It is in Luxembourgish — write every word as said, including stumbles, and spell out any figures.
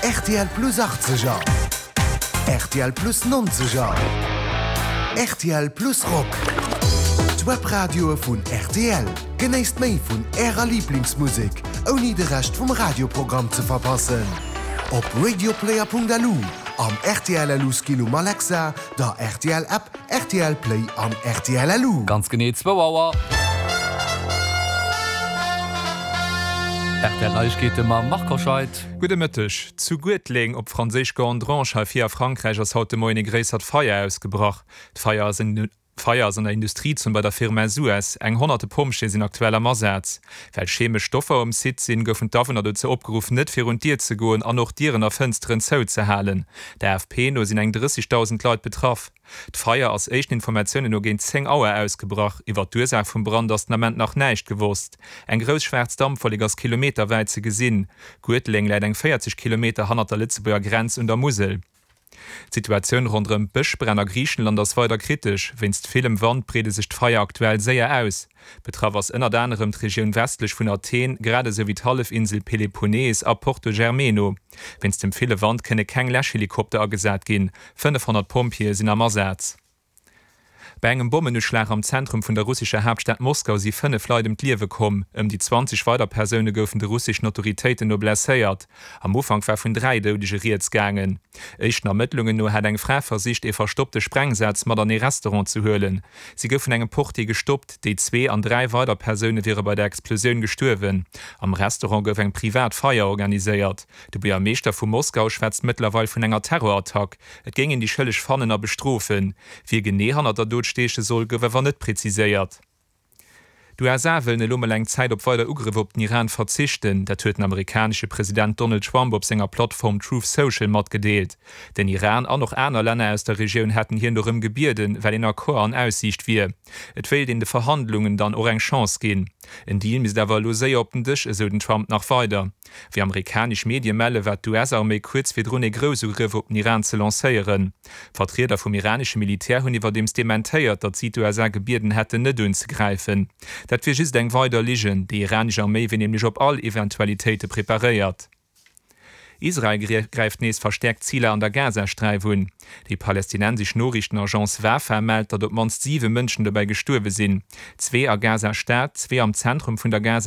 R T L Plus achtzeger, R T L Plus nonzeger, R T L Plus Rock. D'Webradioe vun R T L. Genéisst méi vun Ärer Liblingsmusek, ouni de Rescht vum Radioprogramm ze verpassen. Op radioplayer Punkt L U, am R T L L U Skill um Alexa, der R T L App, R T L Play an R T L L U. Ganz genee zwou Auer. R T L Neiegkeete mam Marc Hoscheid. Gudde Mëtteg. Zu Guetleng, op Franséisch Gandrange, hei vir a Frankräich ass haut de Moien e gréissert Feier ausgebrach. D'Feier ass en D'Feier ass an der Industriezon bei der Firma Suez. Eng honnerte Pompjeeë sinn aktuell am Asaz. Well chemesch Stoffer um Site sinn, goufen d'Awunner dozou opgeruff, net virun d'Dier ze goen an och Dieren a Fënsteren zouzehalen. Der A F P no sinn eng drëssegdausend Leit betraff. D'Feier ass éischten Informatiounen no géint zéng Auer ausgebrach. Iwwer d'Ursaach vum Brand ass den Ament nach näischt gewosst. Eng grouss schwaarz Dampwollek ass kilometerwäit ze gesinn. Guetleng läit eng véierzeg Kilometer hannert der Lëtzebuerger Grenz un der Musel. D'Situatioun ronderëm d'Bëschbränn a Griichenland ass weider kritesch. Wéinst villem Wand breede sech d'Feier aktuell séier aus. Betraff ass ënnert anerem d'Regioun westlech vun Athen, grad esou wéi d'Hallefinsel Peloponnes a Porto Germeno. Wéinst dem ville Wand kënne keng Läschhelikopter agesat ginn. fënnefhonnert Pompjeeë sinn am Asaz. Bei engem Bommenuschlag am Zentrum vun der russescher Haaptstad Moskau si fënnef Leit ëm d'Liewe komm. Ëm déi zwanzeg weider Persoune goufen de russeschen Autoritéiten no blesséiert. Am Ufank war vun dräi Doudege rieds gaangen. Éischten Ermëttlungen no hat eng Fra versicht, ee verstoppte Sprengsaz mat an ee Restaurant ze huelen. Si gouf vun engem Portier gestoppt. Déi zwee an dräi weider Persoune wiere bei der Explosioun gestuerwen. Am Restaurant gouf eng privat Feier organiséiert. De Buergermeeschter vu Moskau schwätzt mëttlerweil vun enger Terrorattack. Et géing een déi Schëlleg fannen a bestrofen. Wie genee hannert der Dot steeche soll, gouf awer net präziséiert. D'U S A wëllen elo mol eng Zäit op weider Ugrëff op den Iran verzichten. Dat huet den amerikanesche President Donald Trump op senger Plattform Truth Social matgedeelt. Den Iran an och aner Länner aus der Regioun hätten hien dorëm gebieden, well een Accord an Aussiicht wier. Et wéilt een de Verhandlungen dann och eng Chance ginn. En Deal misst awer elo séier op den Dësch, esou den Trump nach weider. Wéi amerikanesch Medie melle war d'U S-Arméi kuerz virdrun e Groussugrëff op den Iran ze lancéieren. Vertrieder vum iranesche Militär hunn iwwerdeems dementéiert, datt si d'U S A gebieden hätten, net unzegräifen. Dat wier just eng weider Ligen, déi iranesch Arméi wier nämlech op all Eventualitéite preparéiert. Israel gräift nees verstäerkt Ziler an der Gazasträif un. Déi palästinensesch Noriichtenagence Wafa mellt, datt op d'mannst siwe Mënschen dobäi gestuerwe sinn. Zwee a Gaza-Stad, zwee am Zentrum vun der